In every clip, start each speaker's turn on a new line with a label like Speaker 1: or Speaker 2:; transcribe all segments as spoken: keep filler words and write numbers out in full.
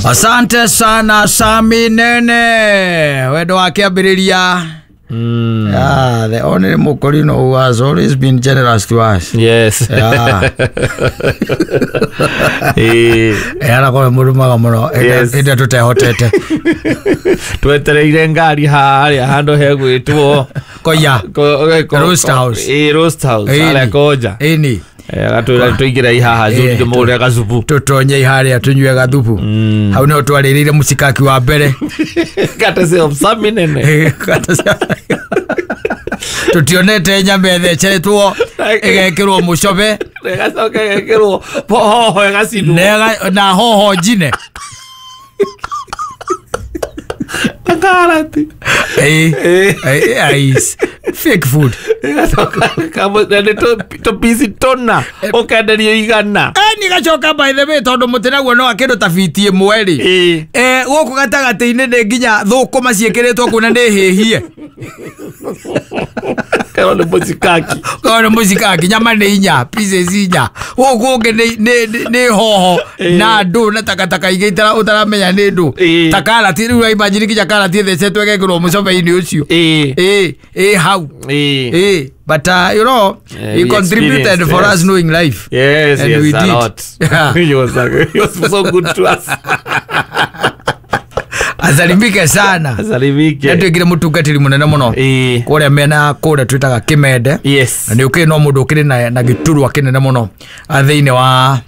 Speaker 1: Asante sana Sami Nene, wendo wa kĩambĩrĩria.
Speaker 2: Mm.
Speaker 1: Yeah, the only Mukorino who has always been generous to us.
Speaker 2: Yes.
Speaker 1: Yeah.
Speaker 2: Eh,
Speaker 1: Arakorwo mũrumaga mũno
Speaker 2: Yes.
Speaker 1: ĩndĩ tũtehotete.
Speaker 2: Twetereire ngari harĩa handũ hegwĩtwo
Speaker 1: Koya.
Speaker 2: Ko- ko-
Speaker 1: Roast House.
Speaker 2: Eh, Roast House
Speaker 1: Ĩni.
Speaker 2: harĩa Koja.
Speaker 1: Ĩni.
Speaker 2: Eh, agatwĩra tũingĩre haha
Speaker 1: Eh,
Speaker 2: zuri tũmũgũrĩre gacubu.
Speaker 1: Tũtonye harĩa tũnyue gathubu. Hau nĩho twarĩrĩire mũcikaki wa mbere.
Speaker 2: Courtesy of Sami Nene.
Speaker 1: Tũtionete nyama ĩtheceretwo ĩgekĩrwo mũcobe
Speaker 2: Ĩgacoka ĩgekĩrwo hoho ĩgacinwo.
Speaker 1: na ĩga- na hoho njine.
Speaker 2: Na karati.
Speaker 1: Eh,
Speaker 2: Eh.
Speaker 1: eh, eh, fake food.
Speaker 2: Ĩgacoka kamũ- na nĩ tũ- tũpici tũna ũkenderio igana.
Speaker 1: Eh, nĩgacoka by the way tondũ mũtĩ naguo no kĩndũ ta biti ĩmwe rĩ.
Speaker 2: Ĩĩ.
Speaker 1: Eh, gũkũ gatagatĩ-inĩ nĩ nginya thũkũma ciĩkĩrĩtwo kũu na nĩ hĩhie.
Speaker 2: Kerwo nĩ mũcikaki.
Speaker 1: Korwo nĩ mũcikaki nyama nĩ inya pieces inya gũkũ ũngĩ nĩ- nĩ- nĩ- nĩ hoho na ndũ na takataka ingĩ itara- ũtaramenya nĩ ndũ
Speaker 2: Ĩĩ.
Speaker 1: ta karati rĩu ũraimagine nginya karati ĩthecetwo ĩgekĩrwo mũcobe-inĩ ũcio.
Speaker 2: Ĩĩ.
Speaker 1: Ĩĩ, ĩĩ hau.
Speaker 2: Ĩĩ.
Speaker 1: Ĩĩ, but uh, you know,
Speaker 2: Yeah,
Speaker 1: he
Speaker 2: we
Speaker 1: contributed
Speaker 2: experienced,
Speaker 1: for
Speaker 2: yes.
Speaker 1: us knowing life.
Speaker 2: Yes,
Speaker 1: And
Speaker 2: yes,
Speaker 1: we
Speaker 2: a
Speaker 1: did.
Speaker 2: lot.
Speaker 1: Yeah.
Speaker 2: He was, he was so good to us.
Speaker 1: Asalimike sana.
Speaker 2: Asalimike.
Speaker 1: Nĩatuĩkire mũtungatĩri mũnene mũno
Speaker 2: Ĩĩ.
Speaker 1: kũrĩa mĩena kũrĩa twĩtaga Kĩmende.
Speaker 2: Yes.
Speaker 1: Na nĩ ũkĩrĩ no mũndũ ũkĩrĩ na, na gĩturwa kĩnene mũno ah, thĩinĩ wa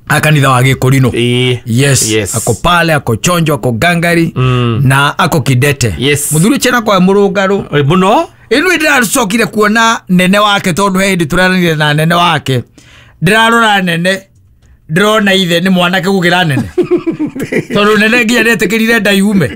Speaker 1: ah, kanitha wa Gĩkũrinũ.
Speaker 2: Ĩĩ.
Speaker 1: Yes.
Speaker 2: Yes.
Speaker 1: Ako pale, ako chonjo, ako gangari
Speaker 2: Mm.
Speaker 1: na ako kidete.
Speaker 2: Yes.
Speaker 1: Mũthuri ũcio na kwa mũrũngarũ.
Speaker 2: Ĩ, mũno?
Speaker 1: Ĩno ndĩracokire kuona nene wake tondũ he hĩndĩ tũranire na nene wake. Ndĩrarora nene ndĩrona ithe nĩ mwanake gũkĩra nene. Tondũ nene nginya nĩetĩkĩrire nda yume.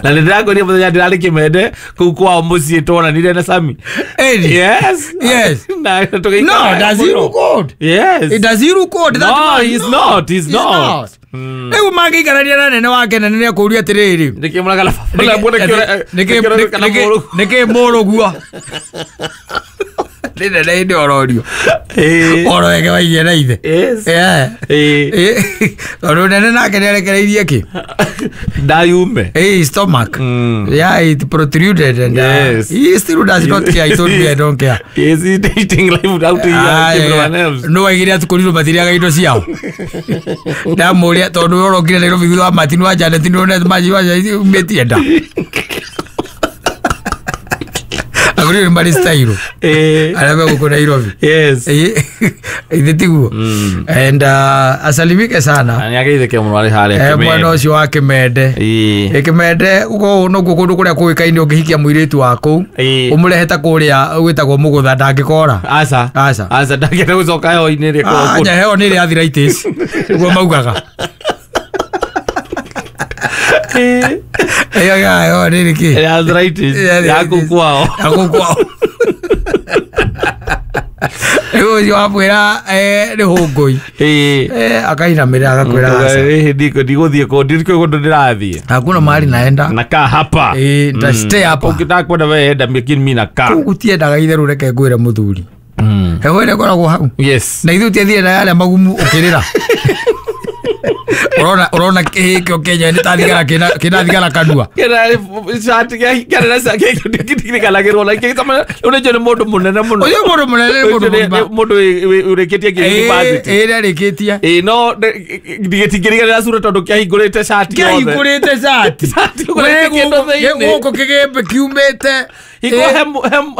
Speaker 2: Na nĩ ndĩrakwĩrire mũthenya ndĩrarĩ Kĩmende kũu kwao mũciĩ twonanire na Sami.
Speaker 1: Ĩni.
Speaker 2: Yes.
Speaker 1: Yes.
Speaker 2: Na tũgĩikara
Speaker 1: No, does he
Speaker 2: mũno.
Speaker 1: look old?
Speaker 2: Yes.
Speaker 1: It does he look old? That
Speaker 2: No,
Speaker 1: man?
Speaker 2: he's not, he's not. Mm.
Speaker 1: Rĩu mangĩikarania na nene wake nene nĩekũũria atĩrĩrĩ.
Speaker 2: Nĩkĩ mũragala
Speaker 1: Nĩkĩ mũrũguo? Nĩ nene hĩndĩ ororio. Oro wege waigie na ithe.
Speaker 2: Yes.
Speaker 1: Yeah.
Speaker 2: Ĩĩ.
Speaker 1: Eh, tondũ nene nake nĩarekereirie kĩ?
Speaker 2: Ndayume.
Speaker 1: Eh, stomach.
Speaker 2: Mm.
Speaker 1: Yeah, it protruded and uh,
Speaker 2: Yes.
Speaker 1: he still does not care. He told me I don't care.
Speaker 2: Yes, he's dating life without
Speaker 1: Ah,
Speaker 2: everyone
Speaker 1: yeah.
Speaker 2: else.
Speaker 1: No waigire atũkorirwo matirĩaga indo ciao. Ndamũria tondũ we ũrokire Nairobi thutha wa Martin wa Janet nĩwonete maji wa Janet umĩtie nda. Akorirwo nĩ marĩ style.
Speaker 2: Eh.
Speaker 1: Arĩa me gũkũ Nairobi.
Speaker 2: Yes.
Speaker 1: Eh, ithe tiguo. And uh, asalimike sana.
Speaker 2: Na nĩageithĩke mũno arĩ harĩa
Speaker 1: Eh, mwena
Speaker 2: Kĩmende.
Speaker 1: ũcio wa Kĩmende.
Speaker 2: Ĩĩ.
Speaker 1: Ĩ Kĩmende ũkorwo nokuo kũndũ kũrĩa kũĩkaine ũngĩhikia mũirĩtu wa kũu
Speaker 2: Ĩĩ.
Speaker 1: ũmũrehe ta kũrĩa gwĩtagwo Mũgũtha ndangĩkora.
Speaker 2: Aca.
Speaker 1: Aca.
Speaker 2: Aca ndangĩenda gũcoka heho-inĩ ĩrĩa ĩkoragwo
Speaker 1: Ah,
Speaker 2: kũu.
Speaker 1: nya heho nĩ ĩrĩ arthritis nĩguo maugaga.
Speaker 2: Ĩĩ.
Speaker 1: Ĩyo ya heho nĩ ĩrĩ kĩ?
Speaker 2: Ĩrĩa arthritis
Speaker 1: Ya
Speaker 2: ya kũu kwao.
Speaker 1: Ya kũu kwao. Rĩu ũcio wamwĩra eh, nĩ hũngũi.
Speaker 2: Ĩĩ.
Speaker 1: Eh, akainamĩrĩra agakwĩra aca.
Speaker 2: Ĩĩ, ndiko ndigũthiĩ kũu ndikũĩ kũndũ ndĩrathiĩ.
Speaker 1: Hakuna mahali naenda.
Speaker 2: Nakaa hapa.
Speaker 1: Ĩĩ, nita stay hapa.
Speaker 2: Ũngĩtaka kwenda we enda lakini mimi nakaa.
Speaker 1: Kũu gũtiendaga itherũ reke ngwĩre mũthuri.
Speaker 2: Mm.
Speaker 1: Heho ĩrĩa ĩkoragwo hau.
Speaker 2: Yes.
Speaker 1: Na ithuĩ ũtiathire na yarĩa magumu ũkĩrĩra. Ũrona ũrona kĩhĩ kĩo Kenya nĩ ta thigara kĩna kĩna thigara kanua.
Speaker 2: Kĩna cati kĩarĩ na cati kĩrikanagĩrwo na kĩtama ũrĩa nĩ mũndũ mũnene mũno.
Speaker 1: Ũcio mũndũ mũnene nĩ mũndũ
Speaker 2: Ũcio nĩ-
Speaker 1: mũgima.
Speaker 2: nĩ mũndũ wĩ- wĩ- ũrĩkĩtie nginya university.
Speaker 1: Ĩĩ nĩarĩkĩtie.
Speaker 2: Ĩĩ no gĩtingĩriganĩra cura tondũ kĩahingũrĩte cati yothe.
Speaker 1: Kĩahingũrĩte cati.
Speaker 2: Cati ũgũrĩte kĩndũ thĩinĩ.
Speaker 1: Gũkũ kĩgĩmbĩ kiumĩte.
Speaker 2: Hingo he he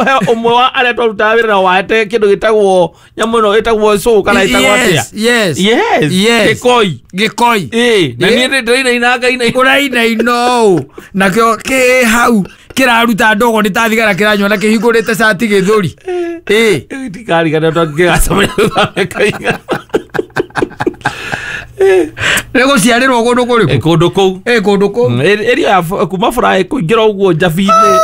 Speaker 2: he ũmwe wa arĩa twarutaga wĩra nao wahete kĩndũ gĩtagwo nyamũ ĩno ĩtagwo cũ kana ĩtagwo atĩa.
Speaker 1: Yes, yes.
Speaker 2: Yes.
Speaker 1: Yes.
Speaker 2: Gĩkoi.
Speaker 1: Gĩkoi.
Speaker 2: Ĩĩ na
Speaker 1: Ĩĩ.
Speaker 2: niĩ nĩ ndĩrainaina ngainaina.
Speaker 1: Ũrainaina ũũ. Nakĩo kĩ hau kĩraruta ndogo nĩ ta thigara kĩranyua na kĩhingũrĩte cati gĩthũri. Ĩĩ.
Speaker 2: Ndikariganĩrwo tondũ ngĩgacemania thutha wa mĩaka ĩigana.
Speaker 1: Nĩ gũciarĩrwo kũndũ kũrĩkũ?
Speaker 2: Kũndũ kũu.
Speaker 1: Ĩĩ kũndũ kũu.
Speaker 2: Area ya kuma Furaha kũingĩra ũguo Njabi-inĩ.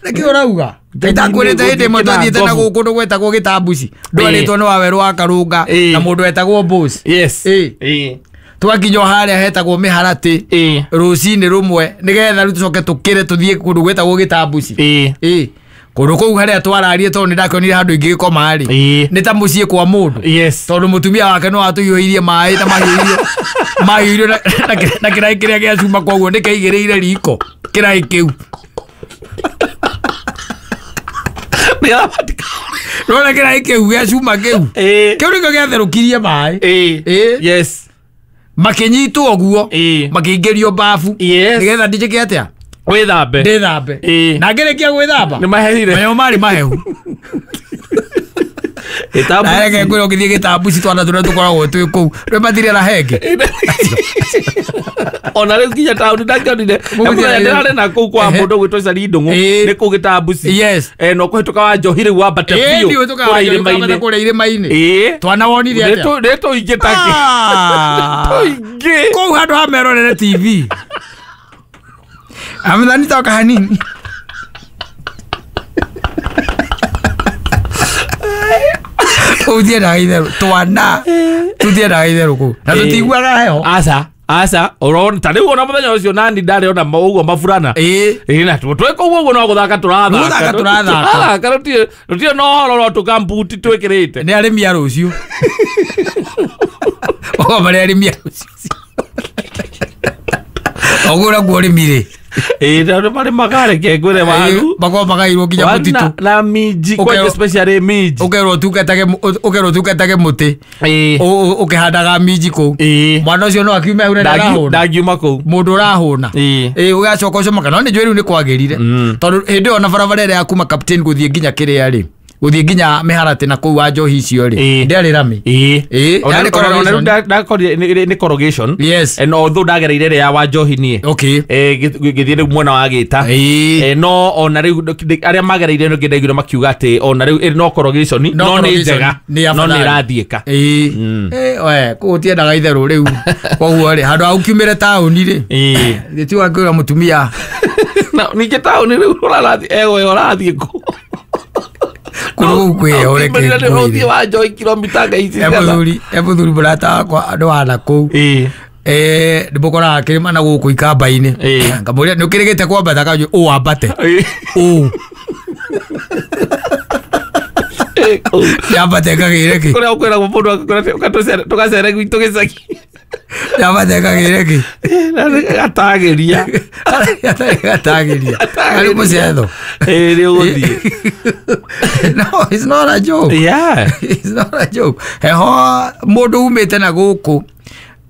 Speaker 1: Nĩkĩ ũrauga? Ndakwĩrĩte hĩndĩ ĩmwe twathiĩte na gũkũ kũndũ gwetagwo Gĩtambuci. Ndwarĩtwo nĩ Wawerũ wa Karũnga
Speaker 2: Ĩĩ.
Speaker 1: na mũndũ wetagwo Boss.
Speaker 2: Yes.
Speaker 1: Ĩĩ.
Speaker 2: Ĩĩ.
Speaker 1: Twakinya o harĩa hetagwo Mĩharatĩ
Speaker 2: Ĩĩ.
Speaker 1: rũcinĩ rũmwe nĩgetha rĩu tũcoke tũkĩre tũthiĩ kũndũ gwetagwo Gĩtambuci.
Speaker 2: Ĩĩ.
Speaker 1: Ĩĩ. Kũndũ kũu harĩa twararie tondũ nĩ ndakĩonire handũ ingĩgĩkoma rĩ
Speaker 2: Ĩĩ.
Speaker 1: nĩ ta mũciĩ kwa mũndũ
Speaker 2: Yes.
Speaker 1: tondũ mũtumia wake no atũiyũirie maĩ na mahiũirio mahiũirio na- na kĩ- na kĩraĩ kĩrĩa gĩa cuma koguo nĩ kĩaigĩrĩire riko kĩraĩ kĩu
Speaker 2: Nĩgetha matika-
Speaker 1: rona kĩraĩ kĩu gĩa cuma kĩu
Speaker 2: Ĩĩ.
Speaker 1: kĩu nĩkĩo gĩatherũkirie maĩ
Speaker 2: Ĩĩ.
Speaker 1: Ĩĩ.
Speaker 2: Yes.
Speaker 1: makĩnyitwo ũguo
Speaker 2: Ĩĩ.
Speaker 1: makĩingĩrio babu
Speaker 2: Yes.
Speaker 1: nĩgetha ndijĩke atĩa
Speaker 2: Wĩthambe.
Speaker 1: ndĩthambe
Speaker 2: Ĩĩ.
Speaker 1: na ngĩrĩkia gwĩthamba
Speaker 2: Nĩ mahehire.
Speaker 1: mayo marĩ mahehu
Speaker 2: Gĩtambuci.
Speaker 1: na reke ngwĩra ũgĩthiĩ gĩtambuci twana tũrĩa tũkoragwo twĩ kũu rĩ matirĩ na henge
Speaker 2: Ona rĩu nginya taũni ndangĩonire.
Speaker 1: Mũgũthiĩ
Speaker 2: Mũthenya
Speaker 1: na-
Speaker 2: ndĩrarĩ na kũu kwa
Speaker 1: Ehe.
Speaker 2: mũndũ ũgwĩtwo Cari Ndũng'ũ.
Speaker 1: Ĩĩ.
Speaker 2: Nĩ kũu gĩtambuci.
Speaker 1: Yes.
Speaker 2: Eh, no kũhĩtũka wa Njohi rĩu wambate
Speaker 1: Ĩĩ,
Speaker 2: biũ.
Speaker 1: ndiũĩ tũkaga
Speaker 2: Kũrĩa
Speaker 1: irĩma-inĩ
Speaker 2: irĩma-inĩ.
Speaker 1: kũrĩa irĩma-inĩ
Speaker 2: Ĩĩ.
Speaker 1: twana wonire
Speaker 2: Nĩ
Speaker 1: atĩa
Speaker 2: tũ- nĩ tũingĩ take.
Speaker 1: Ah.
Speaker 2: Tũingĩ.
Speaker 1: kũu handũ ha merorere T V amethani toka hanini kũu tiendaga itherũ twana tũtiendaga itherũ kũu na
Speaker 2: Ĩĩ.
Speaker 1: tũtiguaga heho
Speaker 2: Aca. Aca. Ũrona ta rĩu ona mũthenya ũcio nani ndarĩ ona ma- ũguo maburana.
Speaker 1: ĩĩ
Speaker 2: Ĩĩ na tũ- twĩ kũu ũguo no gũthaka tũrathaka.
Speaker 1: Gũthaka tũrathaka.
Speaker 2: Tũrathaka tũtirĩ tũtirĩ na ũhoro no tũkambuti twĩkĩrĩte.
Speaker 1: nĩ arĩmi a rũciũ ogo marĩ arĩmi a rũciũ oguo naguo ũrĩmi rĩ
Speaker 2: Ĩĩ tondũ marĩmaga reke ngwĩre waru.
Speaker 1: makorwo magairwo nginya
Speaker 2: Waru
Speaker 1: mũtitũ
Speaker 2: na- na minji
Speaker 1: Ũkerwo-
Speaker 2: kwanja especially minji.
Speaker 1: ũkerwo ũtungatage ũkerwo ũtungatage mũtĩ
Speaker 2: Ĩĩ.
Speaker 1: ũ- ũ- ũkĩhandaga minji kũu
Speaker 2: Ĩĩ.
Speaker 1: mwana ũcio no akiume hau na
Speaker 2: Ndangi-
Speaker 1: ndarahũna
Speaker 2: ndangiuma kũu.
Speaker 1: mũndũ ũrahũna
Speaker 2: Ĩĩ.
Speaker 1: ĩĩ ũgacoka ũcomoka no nĩ njũĩ rĩu nĩ kwagĩrire
Speaker 2: Mm.
Speaker 1: tondũ hĩndĩ ĩyo na barabara ĩrĩa ya kuma captain gũthiĩ nginya kĩrĩa rĩ gũthiĩ nginya mĩharatĩ na kũu wa njohi icio rĩ
Speaker 2: Ĩĩ.
Speaker 1: ndĩarĩ rami
Speaker 2: Ĩĩ.
Speaker 1: Ĩĩ,
Speaker 2: Ona-
Speaker 1: yarĩ
Speaker 2: ona- ona rĩu
Speaker 1: corrugation.
Speaker 2: nda- ndakorire nĩ- nĩ- nĩ corrugation.
Speaker 1: Yes.
Speaker 2: Eh, no although ndagereire ĩrĩa ya Wanjohi niĩ.
Speaker 1: okay
Speaker 2: Eh, ngĩ- ngĩthiĩ rĩu mwena wa Gĩta.
Speaker 1: Ĩĩ.
Speaker 2: Eh, no ona rĩu ndĩ- arĩa magereire nĩ ndaiguire makiuga atĩ ona rĩu ĩrĩ no corrugation
Speaker 1: No
Speaker 2: no nĩ
Speaker 1: corrugation,
Speaker 2: njega
Speaker 1: nĩ
Speaker 2: no nĩ
Speaker 1: afadhali.
Speaker 2: ĩrathiĩka.
Speaker 1: ĩĩ
Speaker 2: Mm.
Speaker 1: Ĩ, we kũu gũtiendaga itherũ rĩu koguo rĩ handũ ha ũkiumĩre taũni rĩ
Speaker 2: Ĩĩ.
Speaker 1: gĩti wakĩra mũtumia
Speaker 2: Na ningĩ taũni rĩu ũrarathiĩ egoyo ũrathiĩ kũ?
Speaker 1: kũndũ kũu kwĩheho reke
Speaker 2: Ũkiumĩrire nĩ
Speaker 1: ngwĩre.
Speaker 2: ũthiĩ wa Njohi kilomita nga ici
Speaker 1: e
Speaker 2: cigana.
Speaker 1: mũthuri e mũthuri mũrata wakwa andũ wana kũu
Speaker 2: Ĩĩ.
Speaker 1: eh ndĩmũkoraga kĩrĩma na gũkũ ikamba-inĩ
Speaker 2: Ĩĩ.
Speaker 1: ngamũria nĩ ũkĩrĩgĩte kwambata kanjũ ũ wambate
Speaker 2: Ĩĩ.
Speaker 1: ũ
Speaker 2: Ĩĩ, kũu.
Speaker 1: yambate ngagĩre kĩ
Speaker 2: Kũrĩa ũkwĩragwo mũndũ akakũra tũgacere gwitũ gĩcagi.
Speaker 1: yambate ngagĩre kĩ
Speaker 2: Na nĩ gatagĩria.
Speaker 1: gatagĩria arĩ mũcetho
Speaker 2: Ĩĩ, nĩ ũgũthiĩ.
Speaker 1: no it's not a joke
Speaker 2: Yeah.
Speaker 1: it's not a joke heho mũndũ umĩte na gũkũ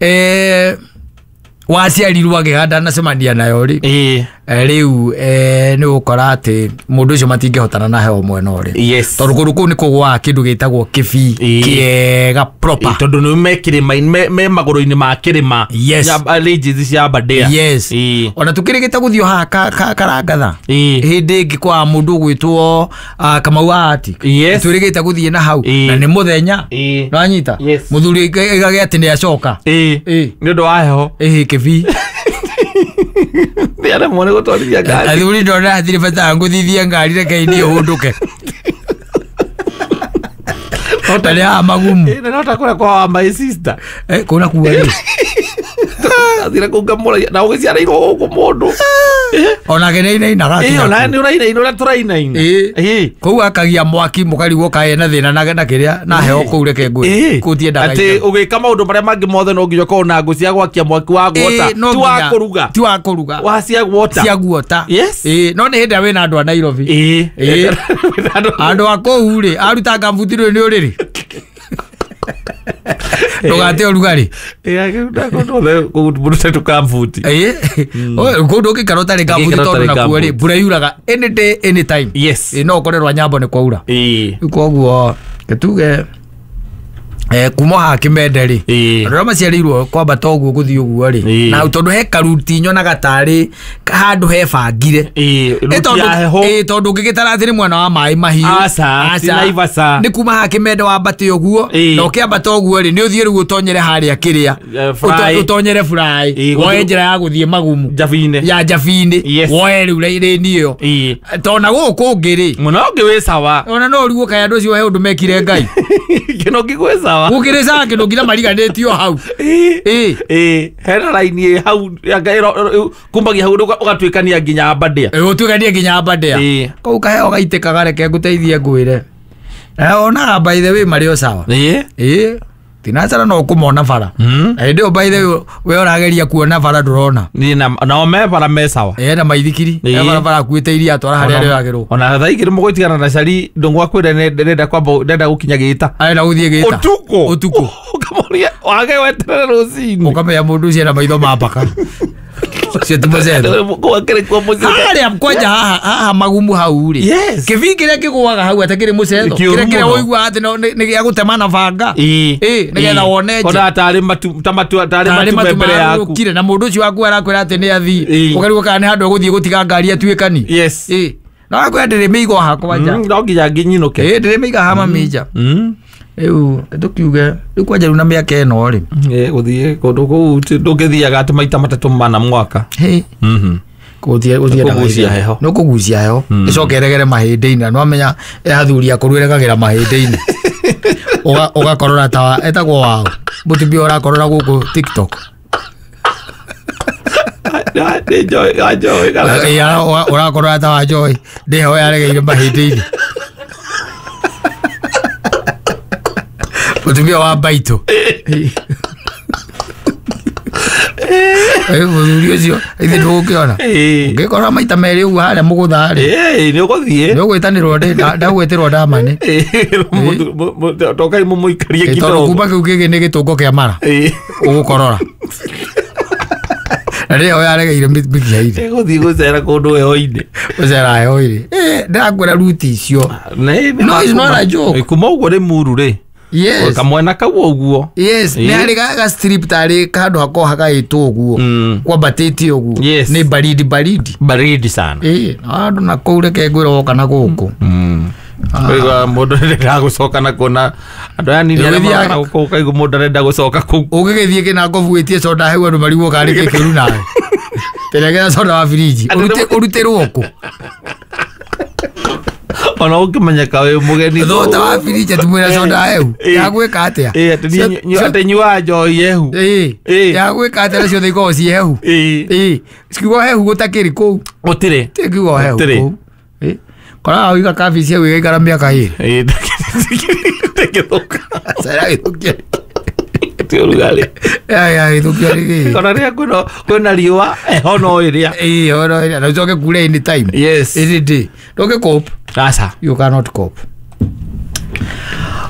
Speaker 1: eh waciarirwo agĩhanda nacemania nayo rĩ
Speaker 2: Ĩĩ.
Speaker 1: Eh, rĩu eh, nĩ ũgũkora atĩ mũndũ ũcio matingĩhotana na heho mwena ũrĩ
Speaker 2: Yes.
Speaker 1: tondũ kũndũ kũu nĩ kũgwaga kĩndũ gĩtagwo kĩbii
Speaker 2: Ĩĩ.
Speaker 1: kĩega proper
Speaker 2: Ĩĩ, tondũ nĩ me kĩrĩma me, me magũrũ-inĩ ma kĩrĩma
Speaker 1: Yes.
Speaker 2: Ya- ridges cia Aberdare.
Speaker 1: yes
Speaker 2: Ĩĩ.
Speaker 1: ona tũkĩrĩgĩte gũthiĩ haha ka- ka- karangatha
Speaker 2: Ĩĩ.
Speaker 1: hĩndĩ ĩngĩ kwa mũndũ ũgwĩtwo ah, Kamau wa Ati
Speaker 2: Yes.
Speaker 1: twĩrĩgĩte gũthiĩ na hau
Speaker 2: Ĩĩ.
Speaker 1: na nĩ mũthenya
Speaker 2: Ĩĩ.
Speaker 1: nĩwanyita
Speaker 2: Yes.
Speaker 1: mũthuri ĩgagĩa atĩ nĩ acoka
Speaker 2: Ĩĩ.
Speaker 1: Ĩĩ.
Speaker 2: Nĩ ũndũ wa heho.
Speaker 1: ĩhĩ kĩbii
Speaker 2: Nĩ aremwo nĩ gũtwarithia ngari.
Speaker 1: athuri ndona hatirĩ bata ngũthithie ngari reke niĩ hũndũke na nĩ haha magumu
Speaker 2: Ĩĩ, na no ta kũrĩa kwa wa my sister.
Speaker 1: Eh, kũu nakuo rĩ
Speaker 2: Athire kũu ngamũragia na ũgĩciarĩirwo gũkũ mũndũ.
Speaker 1: onake nĩ ainainaga
Speaker 2: Ĩĩ,
Speaker 1: akinya
Speaker 2: ona
Speaker 1: kũu.
Speaker 2: nĩ ũrainaina ũrĩa tũrainaina.
Speaker 1: Ĩĩ.
Speaker 2: Ĩĩ.
Speaker 1: kũu akagia mwaki mũkarigwo kaĩ na thĩna na na kĩrĩa na heho kũu reke ngwĩre
Speaker 2: Ĩĩ.
Speaker 1: kũu tiendaga
Speaker 2: atĩ
Speaker 1: itherũ.
Speaker 2: ũgĩka maũndũ marĩa mangĩ mothe no nginya ũkorwo na ngũ cia gwakia mwaki wa guota
Speaker 1: Ĩĩ, no
Speaker 2: ti wa
Speaker 1: nginya-
Speaker 2: kũruga
Speaker 1: ti wa kũruga
Speaker 2: wa cia guota
Speaker 1: cia guota
Speaker 2: Yes.
Speaker 1: Ĩĩ, no nĩ hĩndĩ ĩrĩa wĩna andũ a Nairobi
Speaker 2: Ĩĩ.
Speaker 1: Ĩĩ. andũ a kũu rĩ aruta ngambuti rĩ nĩ ũrĩrĩ ndũgate ũrugarĩ
Speaker 2: mũndũ tũkambuti
Speaker 1: Ĩĩ. Kũu ndũngĩikara ũtarĩ ngambuti
Speaker 2: Ndũngĩikara
Speaker 1: tondũ
Speaker 2: ũtarĩ
Speaker 1: nakuo rĩ
Speaker 2: ngambuti.
Speaker 1: mbura yuraga any day any time
Speaker 2: Yes.
Speaker 1: Ĩĩ, no ũkorerwo nyambo nĩ kwaura
Speaker 2: Ĩĩ.
Speaker 1: Rĩu koguo gĩtuge eh, kuma haha kĩmende rĩ
Speaker 2: Ĩĩ.
Speaker 1: andũ arĩa maciarĩirwo kwambata ũguo gũthiĩ ũguo rĩ
Speaker 2: Ĩĩ.
Speaker 1: na tondũ he karuti nyonaga tarĩ handũ hebangire
Speaker 2: Ĩĩ,
Speaker 1: Ĩ
Speaker 2: ruti
Speaker 1: tondũ
Speaker 2: ya heho
Speaker 1: ĩ tondũ ũngĩgĩtara atĩ nĩ mwena wa maĩ mahiũ
Speaker 2: Aca, ti Naivasha.
Speaker 1: nĩ kuma haha kĩmende wambate ũguo
Speaker 2: Ĩĩ.
Speaker 1: na ũkĩambata ũguo rĩ nĩ ũthiĩ rĩu ũtonyere harĩa kĩrĩa
Speaker 2: Eh, Fry.
Speaker 1: Ũto- ũtonyere fry
Speaker 2: Ĩĩ,
Speaker 1: woe
Speaker 2: gũthiĩ-
Speaker 1: njĩra ya gũthiĩ magumu
Speaker 2: Njabinĩ.
Speaker 1: ya njabinĩ
Speaker 2: Yes.
Speaker 1: woe rĩu rĩni ĩyo
Speaker 2: Ĩĩ.
Speaker 1: tondũ na gũkũ ũngĩ rĩ
Speaker 2: Mũno ũngĩ wĩ sawa
Speaker 1: ona no ũrigwo kaĩ andũ acio he ũndũ mekire ngai
Speaker 2: kĩno ngĩ gwĩ sawa sawa.
Speaker 1: Gũkĩrĩ sawa kĩndũ nginya mariganĩtio hau.
Speaker 2: Ĩ. Ĩ, hena raini ĩ hau anga ĩro- kumbagia hau ũga- ũgatuĩkania nginya Aberdare.
Speaker 1: Ũtuĩkanie nginya Aberdare.
Speaker 2: Ĩ.
Speaker 1: Kau kaheo gaitĩkaga reke ngũteithie ngwĩre. Na onaga by the way marĩ o sawa.
Speaker 2: Ĩ.
Speaker 1: Ĩ. Tinacara no ũkũmona bara.
Speaker 2: Mm.
Speaker 1: Na hĩndĩ ĩyo by the way we ũrageria kuona bara ndũrona.
Speaker 2: Niĩ na nao me bara me sawa.
Speaker 1: Ena maithikiri.
Speaker 2: Ĩ.
Speaker 1: E barabara akuĩte iria atwara harĩa rĩoyagĩrwo.
Speaker 2: Ona thaa igĩrĩ mũgũtigana na cari ndũng'ũ akwĩra ndĩrenda kwamba ndĩrenda gũkinya gĩta.
Speaker 1: Arenda gũthiĩ gĩta.
Speaker 2: Ũtukũ.
Speaker 1: Ũtukũ.
Speaker 2: Ũkamũria wage weterere rũcinĩ.
Speaker 1: Ũkamenya mũndũ ũcio ena maitho ma mbaka. Ũcio ti mũcetho.
Speaker 2: Kũu akĩrĩ kuo mũciĩ.
Speaker 1: Harĩa kwanja haha haha magumu hau rĩ.
Speaker 2: Yes.
Speaker 1: Kĩbii kĩrĩa kĩgũaga hau atakĩrĩ mũcetho.
Speaker 2: Kĩũru
Speaker 1: Kĩrĩa kĩrĩa
Speaker 2: mũno.
Speaker 1: ũiguaga atĩ no- nĩ nĩ gĩa gũtema na banga.
Speaker 2: Ĩ.
Speaker 1: Ĩ, nĩgetha wone nje.
Speaker 2: Ona tarĩ matu ta matu tarĩ
Speaker 1: Tarĩ
Speaker 2: matu me
Speaker 1: matu
Speaker 2: mbere yaku.
Speaker 1: marũrũkire na mũndũ ũcio waku arakwĩra atĩ nĩ athiĩ.
Speaker 2: Ĩ.
Speaker 1: Ũkarigwo kana nĩ handũ egũthiĩ gũtiga ngari atuĩkani.
Speaker 2: Yes.
Speaker 1: Ĩ. Na wakwĩra ndĩrĩ mĩigo haha kwanja.
Speaker 2: Mm, no nginya nginyinũke.
Speaker 1: Ĩ, ndĩrĩ mĩiga haha mamĩnja.
Speaker 2: Mm.
Speaker 1: Rĩu tũkiuge rĩu kwanja rĩu na mĩaka ĩno rĩ.
Speaker 2: Ĩ, gũthiĩ kũndũ kũu ti- ndũngĩthiaga atĩ maita matatũ mana mwaka.
Speaker 1: Hĩ.
Speaker 2: Mhm.
Speaker 1: Gũthiĩ gũthiĩ
Speaker 2: Kũgucia heho.
Speaker 1: Nĩ kũgucia heho. Ĩcoke ĩregere mahĩndĩ-inĩ na nĩwamenya ĩ athuri akũrũ ĩregagĩra mahĩndĩ-inĩ. Ũga- Ũgakorora ta wa- etagwo waũ. Mũtumia ũrakorora gũkũ TikTok.
Speaker 2: Nĩ njoĩ, wa njoĩ kana-
Speaker 1: Ĩ, ara- ũra- Ũrakorora ta wa Joy. Ndĩ heho yaregeire mahĩndĩ-inĩ. Mũtumia wa baitũ. Ĩ, mũthuri ũcio ithe ndũgũkĩona.
Speaker 2: Ĩ.
Speaker 1: Ũngĩkorora maita merĩ ũguo harĩa mũgũtha rĩ.
Speaker 2: Ĩ, nĩ ũgũthiĩ.
Speaker 1: Nĩ ũgwĩtanĩrwo ndĩ- ndagwĩtĩrwo ndamane.
Speaker 2: Ĩ, mũtu- mũ- mũ- tokai mũmũikarie
Speaker 1: Ĩ, tondũ
Speaker 2: kidogo.
Speaker 1: kuma kĩu kĩngĩ nĩ gĩtũngo kĩa mara
Speaker 2: Ĩ.
Speaker 1: ũgũkorora. Na rĩo yaregeire mĩkiha-inĩ.
Speaker 2: Ĩgũthiĩ gũcera kũndũ heho-inĩ.
Speaker 1: Gũcera heho-inĩ. Ĩ, ndĩrakwĩra ruti icio.
Speaker 2: Nĩ- nĩ
Speaker 1: No, it's not a joke.
Speaker 2: Ĩ, kuma ũguo rĩ muru rĩ.
Speaker 1: Yes.
Speaker 2: Kamwena kau ũguo.
Speaker 1: Yes,
Speaker 2: Ĩ.
Speaker 1: nĩ harĩ ga ga strip tarĩ handũ hakoragwo hagaĩtwo ũguo.
Speaker 2: Mm.
Speaker 1: Kwambatĩte ũguo.
Speaker 2: Yes.
Speaker 1: Nĩ baridi baridi.
Speaker 2: Baridi sana.
Speaker 1: Ĩ, na handũ na kũu reke ngwĩre woka na gũkũ.
Speaker 2: Mm. Ũkaigua mũndũ arenda gũcoka na kuona andũ aya nini arĩa
Speaker 1: Ũgĩthiaga-
Speaker 2: maroka na gũkũ ũkaigua mũndũ arenda gũcoka kũu.
Speaker 1: Ũngĩgĩthiĩ kĩnangobu wĩtie soda hau andũ marigwo karĩ kĩ kĩũru nawe. Tĩregera soda wa firiji. Ũrute ũrutĩrwo kũ?
Speaker 2: Ona ũngĩmenyeka wĩ mũgeni.
Speaker 1: Thota wa firiji atĩ mwĩna soda hehu.
Speaker 2: Ĩ.
Speaker 1: Ya gwĩka atĩa?
Speaker 2: Ĩ, atĩ niĩ-
Speaker 1: Cio-
Speaker 2: atĩ nyuaga njohi hehu.
Speaker 1: Ĩ.
Speaker 2: Ĩ.
Speaker 1: Ya gwĩka atĩa na ciothe ikoragwo ciĩ hehu.
Speaker 2: Ĩ.
Speaker 1: Ĩ. Kiugo hehu gũtakĩrĩ kũu.
Speaker 2: Gũtirĩ.
Speaker 1: Ti kiugo hehu
Speaker 2: Gũtirĩ.
Speaker 1: kũu. Ĩ. Koraga wĩiga kabici hau ĩgaikara mĩaka ĩrĩ.
Speaker 2: Ĩ, ndĩngĩthũka.
Speaker 1: Cera gĩthũkia.
Speaker 2: Ti ũrugarĩ.
Speaker 1: Ya ya gĩthũkia nĩ kĩĩ?
Speaker 2: Ona rĩrĩa kwĩna kwĩna riũa heho no ĩrĩa.
Speaker 1: Ĩ, oro ĩrĩa. Na ũcoke kure any time.
Speaker 2: Yes.
Speaker 1: Any day. Ndũngĩ cope.
Speaker 2: Aca.
Speaker 1: You cannot cope.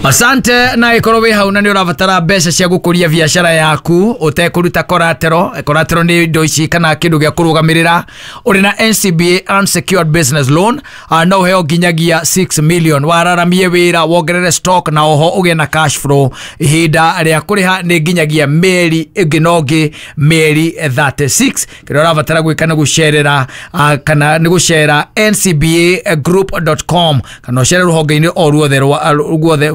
Speaker 1: Asante na ikorwo wĩ hau na nĩ ũrabatara mbeca cia gũkũria biacara yaku ũtekũruta collateral. Collateral nĩ indo ici kana kĩndũ gĩa kũrũgamĩrĩra. Ũrĩ na N C B A unsecured business loan, uh, no ũheo nginyagia six million. Wararamie wĩra, wongerere stock na oho ũgĩe na cash flow. Ihinda rĩa kũrĩha nĩ nginyagia mĩeri ĩngĩ na ũngĩ mĩeri thirty-six. Kĩrĩa ũrabatara gwĩka nĩ gũcerera, uh, kana nĩ gũcera N C B A group dot com kana ũcere rũhonge-inĩ o ruothe rwa ruothe.